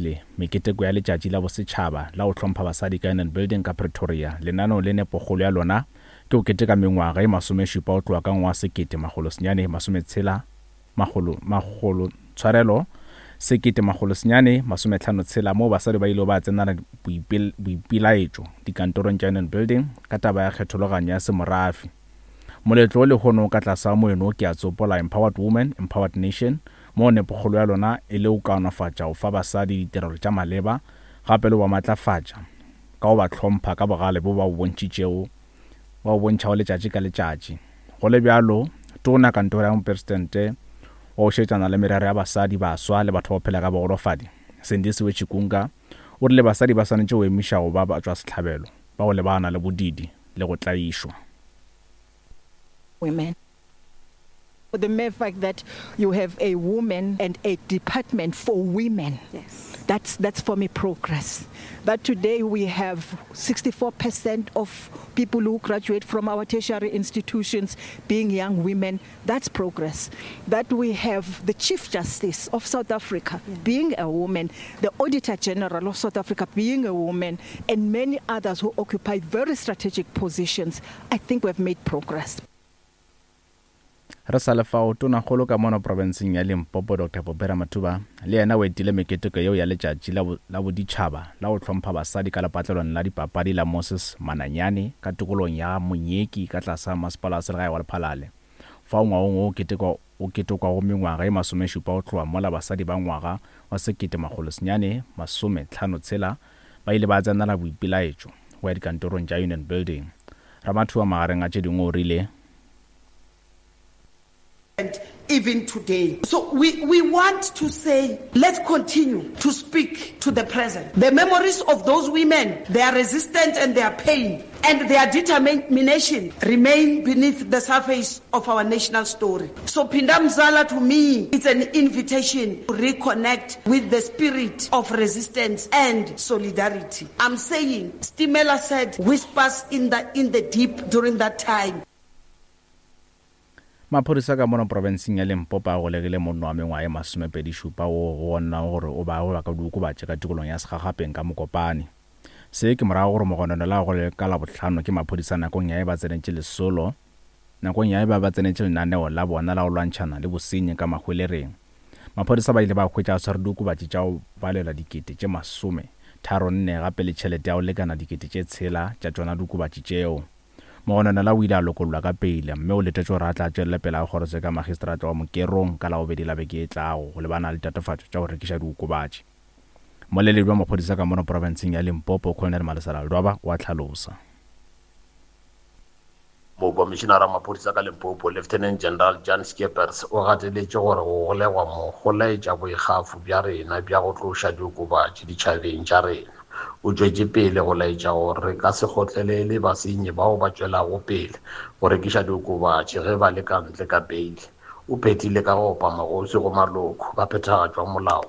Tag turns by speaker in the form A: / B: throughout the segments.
A: Le meketeko ya Letšatši la Bosetšhaba la go Hlompha Basadi ka Union Building ka Pretoria. Lenaneo le nepokgolo ya lona ke go keteka mengwaga ye masomešupa go tloga ka ngwaga 1960 makgolo makgolo tshwarelo 1956 moo basadi ba ilego ba tsenela boipelaetšo dikantorong tša Union Building ka taba ya kgethologanyo ya semorafe. Moletlo wo lehono o ka tlase ga moeno Ke a Tsopola, Empowered Women, Empowered Nation, moo nepokgolo ya lona e le go kaonafatša go fa basadi ditirelo tša maleba gape le go ba matlafatša ka go ba hlompha ka bogale bjo ba bo bontšhitšego ba bo bontšhago letšatši ka letšatši. Go le bjalo, Tona Kantoro ya Mopresidente wa go šetšana le merero ya basadi, baswa le batho ba go phela ka bogolofadi, Sindisiwe Chikunga, o rile basadi ba swanetše go emiša go ba batšwasehlabelo ba go lebagana le bodiidi le go tlaišwa.
B: Women. The mere fact that you have a woman and a department for women, yes. that's, that's for me progress. That today we have 64% of people who graduate from our tertiary institutions being young women, that's progress. That we have the Chief Justice of South Africa yeah. being a woman, the Auditor General of South Africa being a woman, and many others who occupy very strategic positions. I think we've made progress.
A: Re sa le fao, Tonakgolo ka mono profenseng ya Limpopo Doctor Poppy Ramathuba le yena o etile meketeko yeo ya letšatši la la boditšhaba la go hlompha basadi ka lepatlelong la dipapadi la Moses Mananyane ka tikologong ya Monyeki ka tlasa masepala wa selegae wa Lephalale fao ngwagong wo o ketekwa o ketekwago mengwaga ye masomešupa go tloga mola basadi ba ngwaga wa 1956 ba ile ba tsenela boipelaetšo go ya dikantorong tša Union Building. Ramathuba magareng a tše dingwe o rile.
C: even today. So we, we want to say, let's continue to speak to the present. The memories of those women, their resistance and their pain, and their determination remain beneath the surface of our national story. So Pindamzala to me, it's an invitation to reconnect with the spirit of resistance and solidarity. I'm saying, Stimela said, whispers in the, in the deep during that time.
A: Maphodisa ka mono profenseng ya Limpopo a golegile monna wa mengwaga ye masomepedi-šupa woo go bonwago gore o be a gweba ka diokobatši ka tikolong ya Segagapeng ka Mokopane. Se ke morago gore mogononelwa a golegwe ka Labohlano ke maphodisa nakong ya ge ba tsenetše lesolo nakong ya ge ba ba tsenetše lenaneo la bona la go lwantšhana le bosenyi ka Mahwelereng. Maphodisa ba ile ba hwetša a tshwere diokobatši tša go balelwa dikete tše masome tharo nne gape le tšhelete ya go lekana dikete tše tshela tša tšona diokobatši tšeo. Mogononelwa o ile a lokollwa ka peile mme o letetšwe gore a tla tšwelele pele a kgorotsheko ya magistrata wa Mokerong ka Labobedi la beke e tlago go lebana le ditatofatšo tša go rekiša diokobatši. Mmoleledi wa maphodisa ka mono profenseng ya Limpopo, Colonel Malesela Ledwaba o a hlalosa.
D: Mokomišinara wa maphodisa ka Limpopo, Lieutenant General Jan Scheepers o gateletše gore go golegwa mo go laetša boikgafo bja rena bja go tloša diokobatši ditšhabeng tša rena. O tšwetše pele go laetša gore re ka se kgotlelele basenyi bao ba tšwelago pele go rekiša diokobatši ge ba le ka ntle ka beile. O phethile ka go opa magoswi go maloko ba phethagatšo wa molao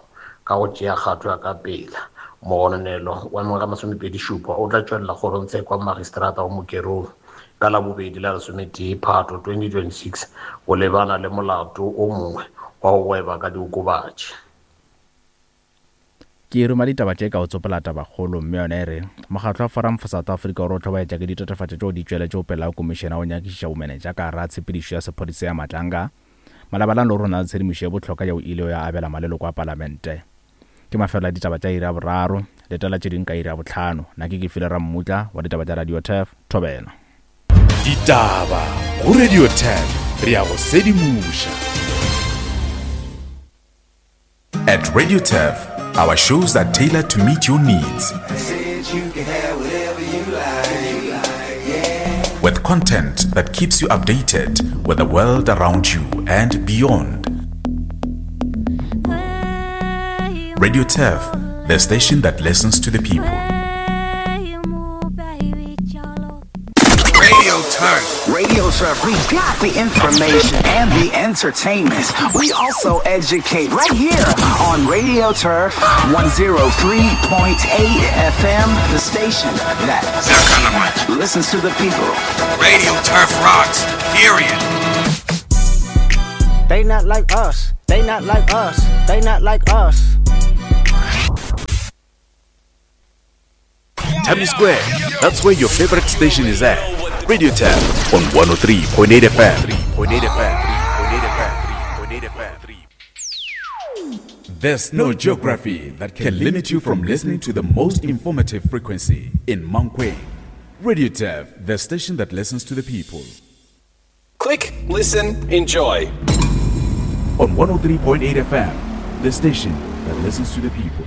D: ka go tšea kgato ya ka pela. Mogononelo wa mengwaga e masomepedi-šupa o tla tšwelela kgorongtsheko ya magistrata wa Mokerong ka Labobedi la lesometee Phato 2026 go lebana le molato o mongwe wa go gweba ka diokobatši.
A: Ke ruma ditaba tše ka go tsopola tabakgolo mme yona e re, Mokgatlo wa Forum for South Africa o re o hlobaetša ke ditatofatšo tšeo di tšweletšego pele ga komišene ya go nyakišiša bomenetša ka gare ga tshepedišo ya sephodisa ya Matlanga malebana le gore o na le tshedimošo ye bohlokwa yeo e ilego ya abela maleloko a palamente. Ke mafelelo a ditaba tša iri ya boraro. Letela tše dingwe ka iri ya bohlano. Na ke Kefile Rammutla wa ditaba tša Radio Turf. Thobela.
E: Ditaba go Radio Turf, re a go sedimoša.
F: At Radio Turf, our shows are tailored to meet your needs. With content that keeps you updated with the world around you and beyond. Radio Turf, the station that listens to the people.
G: Radio Turf.
H: Radio Turf, we got the information and the entertainment. We also educate right here on Radio Turf 103.8 FM, the station that listens to the people.
G: Radio Turf rocks, period.
I: They not like us. They not like us. They not like us.
E: Tammy Square. That's where your favorite station is at. Radio Tab on 103.8 FM. 3.8 FM. 3.8 FM. There's no geography that can limit you from listening to the most informative frequency in Mankweng. Radio Tab, the station that listens to the people.
I: Click, listen, enjoy.
E: On 103.8 FM, the station that listens to the people.